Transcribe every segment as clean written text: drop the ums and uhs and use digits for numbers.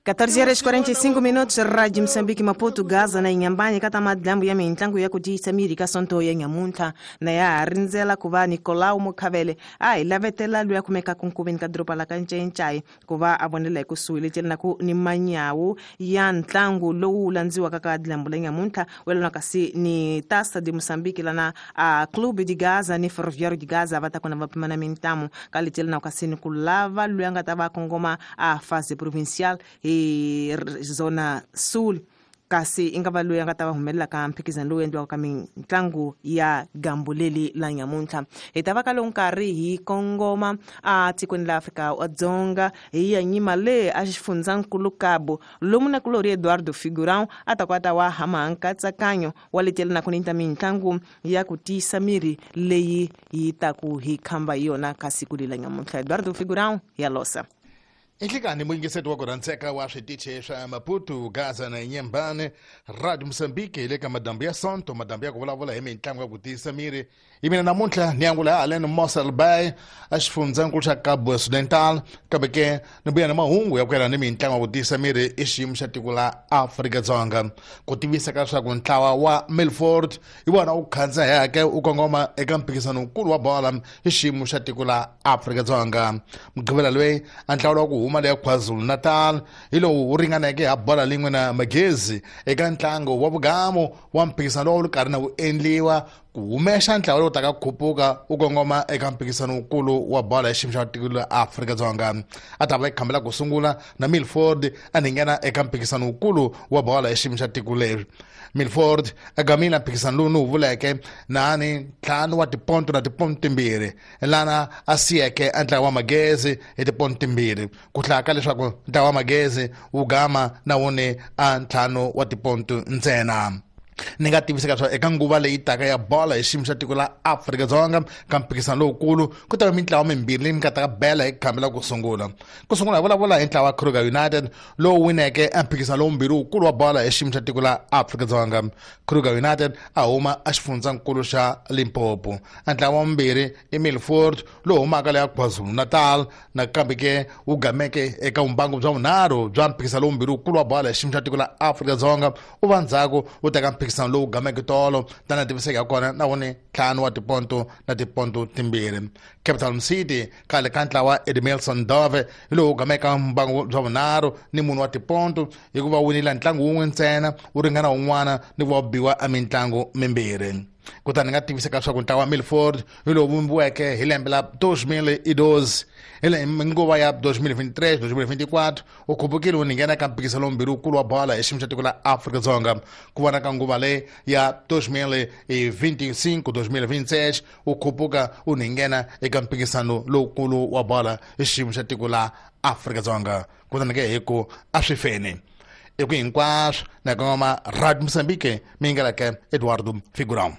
14 horas 45 minutos, Rádio Moçambique, Maputo, Gaza na Inhambane, kata madlambu ya mintlangu ya kutiyisa miri ka sonto ya nyamuntlha na ya ha rindzela ku va Nicolau Mukhavele a hi lavetela loyi a kumekaka nkoveni ka doroba la ka Ncencai ku va a vonela hi kusuhi leti na ku ni manyawu ya ntlangu lowu landziwaka ka dlambu la nyamuntlha welana kasi ni Taça de Moçambique lana a Clube de Gaza ni Ferroviário de Gaza va ta kona va pimana mintamu ka leti na kasi ni ku lava loyi a nga ta va kongoma a fase provincial hi Zona Sul, kasi i nga va loyi a nga ta va humelela ka mphikizano lowu endliwaka ka mitlangu ya gambu leli la nyamuntlha. Hi ta va ka lowu nkarhi hi kongoma a tikweni la Afrika wa Dzonga, hi ya nyima le a xifundzankulu Cabo, lomu na kulori Eduardo Figurão a ta kwata wa hama nkatsakanyo wa letela na ku ni ta mitlangu ya ku tiyisa miri leyi yi taku hi khamba hi yona ka siku lela nyamuntlha. Eduardo Figurão ya losa. Inhlekani muyingiseti wa ku rhandzeka wa switichi swa Maputo, Gaza na Inyembane, Radio Mosambike, hi le ka madambu ya sonto, madambu ya ku vulavula hi mitlangu ya ku tiyisa miri. Hi mina namuntlha ni angula haleni Mossel Bay, a xifundzankulu xa Cabo Occidental, kambe ke ni vuya na mahungu ya ku yelana ni mitlangu ya ku tiyisa miri i xiyimo xa tiko la Afrika-Dzonga. Ku tivisa ka leswaku ntlawa wa Milford hi wona wu khandzaheke wu kongoma eka mphikizano wukulu wa bola hi xiyimo xa tiko la Afrika-Dzonga. Mugqivela loyi a ntlawa wa ku huma leya KwaZulu-Natal hi lowu wu ringaneke ha bola lin'we na Magezi eka ntlangu wa vugamu wa mphikizano lowu wu ri karhi na wu endliwa ku humesa ntlawa lowu taka khupuka wu kongoma eka mphikizano wukulu wa bola ya xiyimo xa tiko la Afrika-Dzonga. A ta va yi khambela ku sungula na Milford a ni nghena eka mphikizano wukulu wa bola ya xiyimo xa tiko leri. Milford a gamile mphikizano lowu ni wu vuleke nani 5 wa tiponto na tiponto 2, lana a siyeke a ntlawa wa Magezi hi tiponto 2, ku hlaya ka leswaku ntlawa wa Magezi wu gama na wuni a 5 wa tiponto ntsena. Ni nga tiviseka leswaku eka nguva leyi taka ya bola hi xiyimo xa tiko la Afrika-Dzonga ka mphikizano lowukulu, ku ta va mintlawa mimbirhi leyi mi nga ta ka bela hi khambi la ku sungula. Ku sungula hi vulavula hi ntlawa wa Kruger United lowu wineke emphikizano lowumbirhi wukulu wa bola hi xiyimo xa tiko la Afrika-Dzonga. Kruger United a huma a xifundzankulu xa Limpopo. A ntlawa wa vumbirhi i Milford lowu humaka leya KwaZulu-Natal, nakambe ke wu gameke eka vumbangu bya vunharhu bya mphikizano lowumbirhi wukulu wa bola hi xiyimo xa tiko la Afrika-Dzonga. U va ndzhaku u teka mphikizano lowu gameke tolo tana tiviseka ya kona na woni 5 wa tiponto na tiponto 2. Capital City khale ka ntlawa Edmilson Dove hi lowu gameka mbangu bya vunharhu ni 4 wa tiponto, hikuva winile ntlangu wun'we ntsena wu ringana wun'wana ni ku va biwa emitlangu mimbirhi. Kutani ni nga tiviseka leswaku ntlawa wa Milford hi lowu vumbiweke hi lembe la 2012, hi nguva ya 2023 2024 u khupukile wu nghena eka mphikizano lombirhi wukulu wa bola hi xiyimo xa tiko la Afrika-Dzonga. Ku vona ka nguva leyi ya 2025 2026 wu khupuka wu nghena eka mphikizano lowukulu wa bola hi xiyimo xa tiko la Afrika-Dzonga. Kutani ke hi ku a swi feni i ku hinkwaswo na kongoma Radio Mozambique, mi ngeleke Eduardo Figurão.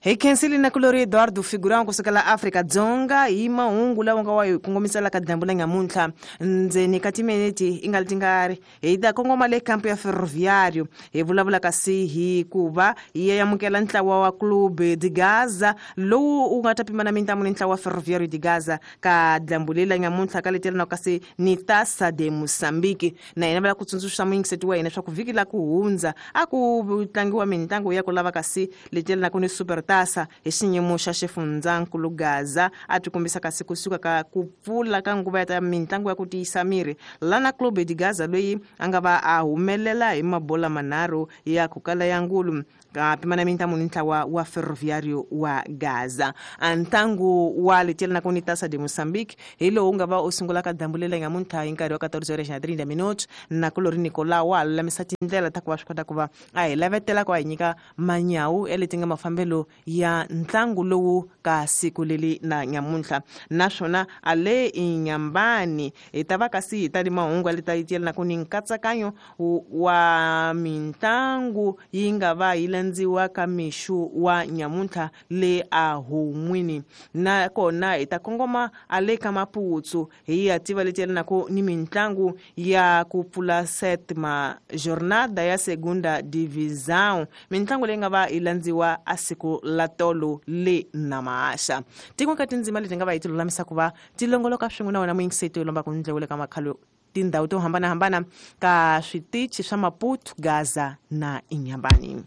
Hi khensile na kulori Eduardo Figurão kusukela Afrika Dzonga hi mahungu lawa nga wa hi kongomisela ka dyambu la nyamuntlha. Ndzeni ka timiniti i nga li tingari hi ta kongoma le kampu ya Ferroviário, hi vulavula kasi hi ku va hi ya amukela ntlawa wa Clube de Gaza lowu wu nga ta pimana mintamu ni ntlawa wa Ferroviário de Gaza ka dyambu leri la nyamuntlha ka letela na kasi ni Taça de Moçambique. Na hina va lava ku tsundzuxa muyingiseti wa hina leswaku vhiki la ku hundza a ku tlangiwa mitlangu ya ku lava kasi letela na ku ni Super Taça hi xiyimo xa xifundzankulu Gaza a ti kombisa kasi kusuka ka ku pfula ka nguva ya ta mitlangu ya ku tiyisa miri, lana Clube de Gaza loyi a nga va a humelela hi mabola manharhu ya ku kala ya ngulu ka pimana mintamu ni ntlawa wa Ferroviário wa Gaza. A ntlangu wa letela na ku ni Taça de Moçambique hi lowu nga va u sungula ka dyambu leri nyamuntlha hi nkarhi wa 14 horas na 30 minutos. Na kulori Nicolau wa lulamisa tindlela ta ku va swi kota ku va a hi lavetela ku a hi nyika manyawu ya leti nga mafambelo ya ntlangu lowu ka siku leri na nyamuntlha. Naswona a le Inyambani hi ta va kasi hi ta ni mahungu ya leti yelana ku ni nkatsakanyo wa mitlangu yi nga va yi landziwa ka mixu wa nyamuntlha le a hun'wini. Nakona hi ta kongoma a le ka Maputsu, hi ya tiva leti yelanaka ni mitlangu ya ku pfula setma jornada ya segunda divisão, mitlangu leyi nga va yi landziwa a siku la tolo le Namaaxa. Tin'we ka tindzima leti nga va hi ti lulamisa ku va ti longoloka swin'we na wena muyingiseti yo lomba ku ndlewule ka makhalo tindhawu to hambanahambana ka switichi swa Maputo, Gaza na Inhambane.